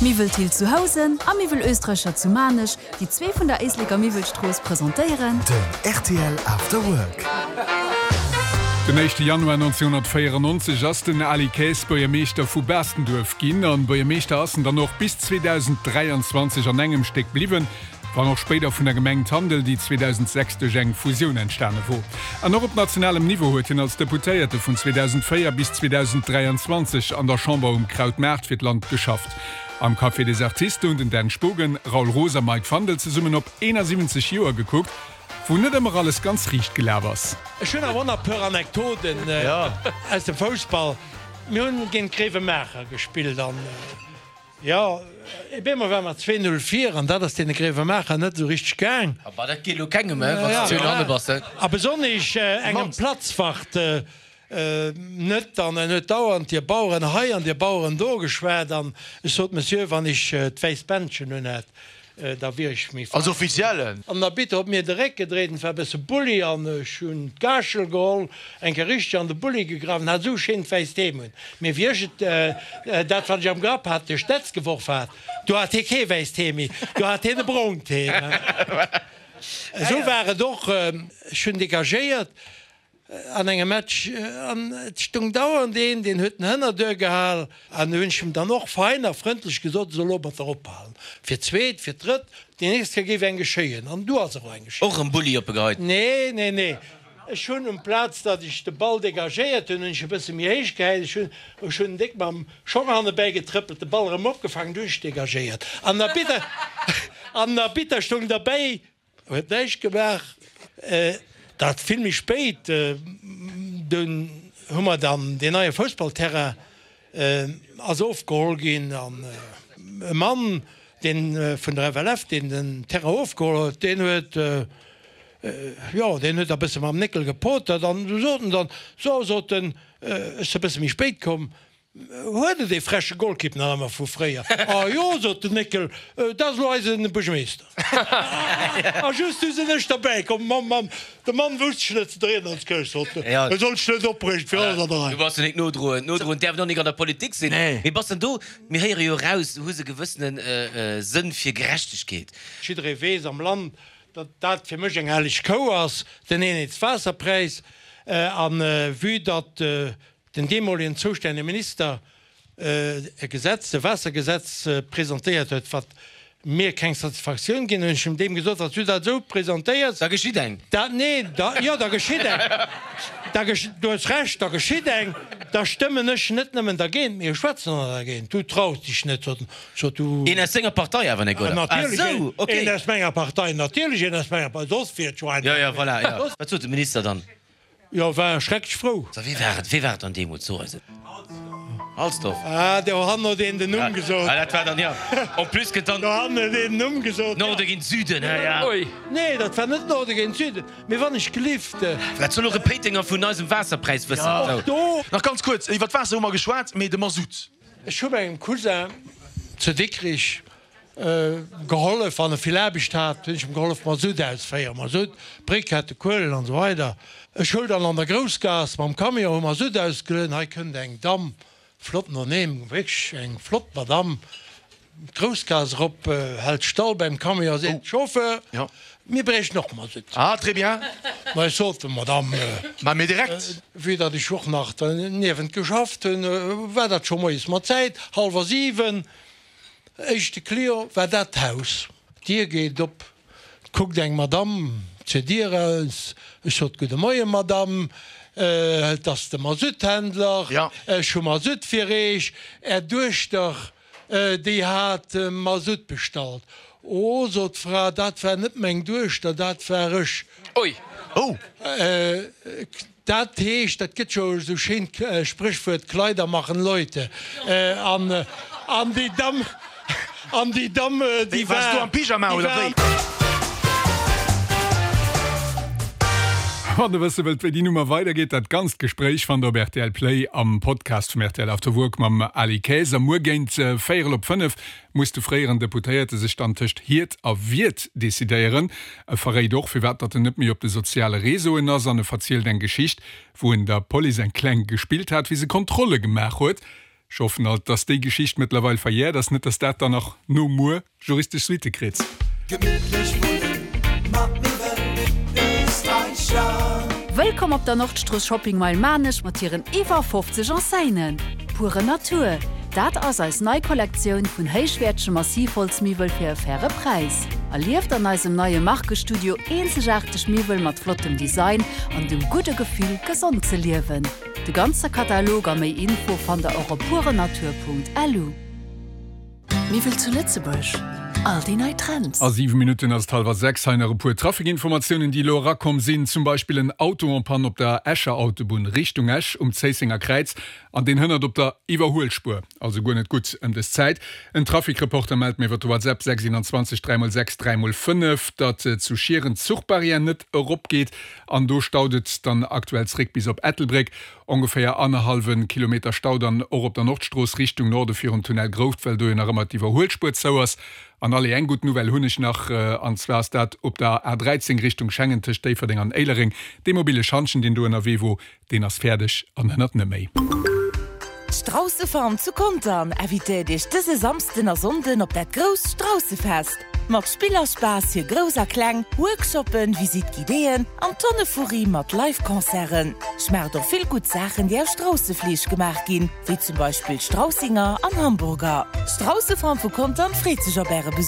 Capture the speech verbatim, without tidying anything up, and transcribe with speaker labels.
Speaker 1: Miwwel Thill zu Housen a Miwwel Österreicher zu Maarnech, déi zwee vun der Éisleker Miwwelstrooss, presentéieren.
Speaker 2: Den rtl After Work.
Speaker 3: Den éischte Januar nonzénhunnertvéierennonzeg ass den Ali Kaes Buergermeeschter vu Baastenduerf ginn. An Buergermeeschter ass en dann och bis zweedausend dräianzwanzeg an engem Stéck bliwwen, wann och spéider vun der Gemeng Tandel, déi zweedausend sechs duerch eng Fusioun entstane wor. An och op nationalem Niveau huet hien als Deputéierte vun zweedausend véier bis zweedausend dräianzwanzeg an der Chamber um Krautmaart fir d'Land geschafft. Am Café des Artistes hunn den Dan Spogen, Raoul Roos a Mike Fandel zesummen op eenasiwwenzeg Joer gekuckt, wou net ëmmer alles ganz riicht gelaf ass.
Speaker 4: Ech hunn awer och nach e puer Anekdoten aus dem Foussball. Mir hunn géint Gréiwemaacher gespillt an, jo, op eemol ware mer zwee Null vir an dat ass deene Gréiwemaacher net esou richteg gaang.
Speaker 5: A bah, dat geet elo kengem, hè, wann s de zwee Null hanne bass, hè.
Speaker 4: A besonnesch engem Platzwart net. An en huet dauernd dir Baueren hei an dir Baueren do geschwat. An ech sot, Monsieur, wann ech d'wäisst Bändchen un hätt, da wier ech méi
Speaker 6: Als Offiziellen.
Speaker 4: An der Bitter huet mir de Réck gedréit, en war e bësse Bulli an ech hunn d'Gaaschel geholl, eng Kéier richteg an de Bulli gegraff an hat esou schéint wäisst Heem un. Mee wéi ech et, dat wat ech am Grapp hat, duerch d'Netz geworf hat, do hat hie kee wäisst Heem méi, do hat hien e brongt Heem. Esou war et och, ech hunn degagéiert an engem Match an et stung dauernd een, deen huet den Hënnerduer gehal an hunn ech em dann och fein a frëndlech gesot, e soll domatter ophalen, fir d'zweet, fir d'drëtt, déi nächst Kéier géif eng geschéien an du ass och eng geschéien.
Speaker 5: Och erëm Bulli opgeheit?
Speaker 4: Nee, nee, nee, ech hunn um Plaz, datt ech de Ball degagéiert hunn, hunn ech e bësse méi héich gehäit, ech hunn, ech hunn déck mam Schong hannebäi getrëppelt, de Ball erëm opgefaangen, du hunn ech degagéiert an den Arbitter, an den Arbitter stoung derbäi. Huet näischt gemaach. Dat vill méi spéit, dunn hu mer dann deen neie Foussballterrain ass ofgeholl ginn an e Mann, deen vun der F L F, deen den Terrain ofgeholl huet, deen huet, jo, deen huet da bësse mam Néckel gepotert an du sot en dann, so, sot en, ech si e bësse méi spéit komm, Huet et ee freche Golkipp nach ëmmer vu fréier? A jo, sot den Néckel, dat ass elo eise Buergermeeschter. A just du sinn ech derbäi komm. Mamm, Mamm, de Mann wousst sech net ze dréien als Keuch, sot en, e sollt sech net opreegen, et wier alles an der Rei.
Speaker 5: Du bass jo nik nodroen. Nodroen däerf een och nik an der Politik sinn. Mee bass dann do, mir héiere jo eraus, du hues e gewëssene Sënn fir Gerechtegkeet.
Speaker 4: Jidderee weess am Land, datt dat fir mech eng helleg Kou ass, den Eenheetswaasserpräis. A vue datt den deemolegen zoustännege Minister e Gesetz, e Waassergesetz presentéiert huet, wat mir keng Satisfaktioun ginn, hunn ech em deem gesot, Wann s du dat esou presentéiers,
Speaker 5: Da geschitt eng.
Speaker 4: da, nee, da, jo, da geschitt eng, da gesch, du hues Recht, da geschitt eng, da stëmmen ech net nëmmen dergéint, mee ech schwätzen och nach dergéint. Du traus dech net, sot en, sot du.
Speaker 5: Een aus senger Partei awer, Nicolas?
Speaker 4: Natierlech,
Speaker 5: Ah sou, okay.
Speaker 4: een aus menger Partei, natierlech een aus menger Partei, soss wier et jo
Speaker 5: Jo,
Speaker 4: einfach.
Speaker 5: jo, voilà, jo. Wat sot de Minister dann?
Speaker 4: Jo, war schrecklech frou.
Speaker 5: So, wee war et, wee war et dann deemools? So eis et. Halsdorf.
Speaker 4: Ah, do han huet een den Numm gesot.
Speaker 5: Ah, dat war dann, jo. En plus gëtt dann.
Speaker 4: Do han huet een den Numm gesot.
Speaker 5: Norde géint Süden, hä, ja.
Speaker 7: Ui.
Speaker 4: Nee, dat war net Norde géint Süden. Mee wann ech gelift.
Speaker 5: Wat soll och e Péitenger vun eisem Waasserpräis wëssen?
Speaker 4: Och do.
Speaker 6: Nach ganz kuerz, iwwer d'Waasser hu mer geschwat, mee de Masutt.
Speaker 4: Ech hu mengem Cousin zu Dikrich gehollef, wann e vill Aarbecht hat, hunn ech em gehollef Masutt ausféieren, Masutt, Brikette, Kuelen an esou weider. Ech huel dann an der Groussgaass mam Camion, hu Masutt ausgelueden, hei kënnt eng Damm, flott noneem, wierklech eng flott Madamm, d'Groussgaass erop, hält stall beim Camion, seet, Chauffeur, mir bréichten och Masutt.
Speaker 6: Ah, très bien.
Speaker 4: Ma ech sot, Madamm,
Speaker 6: Mä mir direkt.
Speaker 4: vue datt ech och nach derniewent geschafft hunn, war dat scho moies mat Zäit, hallwer siwen. Éischte Client war dat Haus. D'Dier geet op, 't kuckt eng Madamm zur Dier eraus. Ech sot, Gudde Moien, Madamm, et ass de Masutthändler. Ech hu Masutt fir Eech. Är Duechter, déi hat Masutt bestallt. Oh, sot d'Fra, dat war net meng Duechter, dat war ech.
Speaker 7: Ui.
Speaker 6: Oh.
Speaker 4: Dat heescht, dat gëtt jo esou schéint Spréchwuert, Kleider machen Leute. An, an déi Damm, an déi Damm, déi
Speaker 6: war. Waars du am Pyjama oder wéi?
Speaker 3: Wann der wësse wëllt, wéi déi Nummer weidergeet, dat ganzt Gespréich fannt der op R T L Play am Podcast vum R T L After Work mam Ali Kaes. A muer géint véierel op fënnef muss de fréieren Deputéierte sech dann tëscht Hiert a Wiert decidéieren. E verréit och, firwat datt en net méi op de soziale Reseauen ass an e verzielt eng Geschicht, wou en der Police eng kleng gespillt hat, wéi se Kontrolle gemaach huet. Ech hoffen alt, dass déi Geschicht mëttlerweil verjährt ass, net dass dat dann nach no muer juristesch Suitte kritt.
Speaker 2: Gemittlech wunnen mat Miwwel Österreicher.
Speaker 1: Wëllkomm op der Nordstrooss Shopping Mile Maarnech mat hiren iwwer fofzeg Enseignen. Pure Natur, dat ass eis nei Kollektioun vun héichwäertege Massivholzmiwwel fir e faire Präis. Erlieft an eisem neie Markestudio eenzegaarteg Miwwel mat flottem Design an dem gudde Gefill, gesond ze liewen. De ganze Katalog a méi Info fannt der och op purenatur.lu. Miwwel zu Lëtzebuerg, all déi nei Trends.
Speaker 3: A siwe Minutten ass et hallwer sechs. Hei nach e puer Trafikinformatiounen, déi elo erakomm sinn. Zum Beispill en Auto en panne op der Escher Autobunn Richtung Esch um Zéissenger Kräiz an deen hënnert op der Iwwerhuelspuer. Also guer net gutt ëm dës Zäit. En Trafikreporter mellt mir iwwer de WhatsApp sechs einundzwanzeg dräi mol sechs dräi mol fënnef, datt zu Schieren d'Zuchbarrière net eropgeet an do staut et dann aktuell zréck bis op Ettelbréck. Ongeféier annerhallwe Kilometer Stau dann och op der Nordstrooss Richtung Norde virum Tunnel Grouft, well do jo nach ëmmer d'Iwwerhuelspuer zou ass. An allez, eng gutt Nouvelle hunn ech nach, an zwar ass dat op der A dräizéng Richtung Schengen tëscht Déifferdeng an Éilereng. Dee mobile Schantjen, deen do ënnerwee wor, deen ass fäerdeg an hënnert net méi.
Speaker 7: D'Straussefarm zu Contern invitéiert Iech dëse Samsden a Sonnden op dat grousst Straussefest! Mat Spill a Spaass fir Grouss a Kleng, Workshoppen, Visite guidéeën an Tonne Furri mat Live Concerten. Schmaacht och vill gutt Saachen, déi aus Straussefleesch gemaach ginn, wéi zum Beispill Straussinger an Hamburger. D'Straussefarm vu Contern freet sech op Äre Besuch!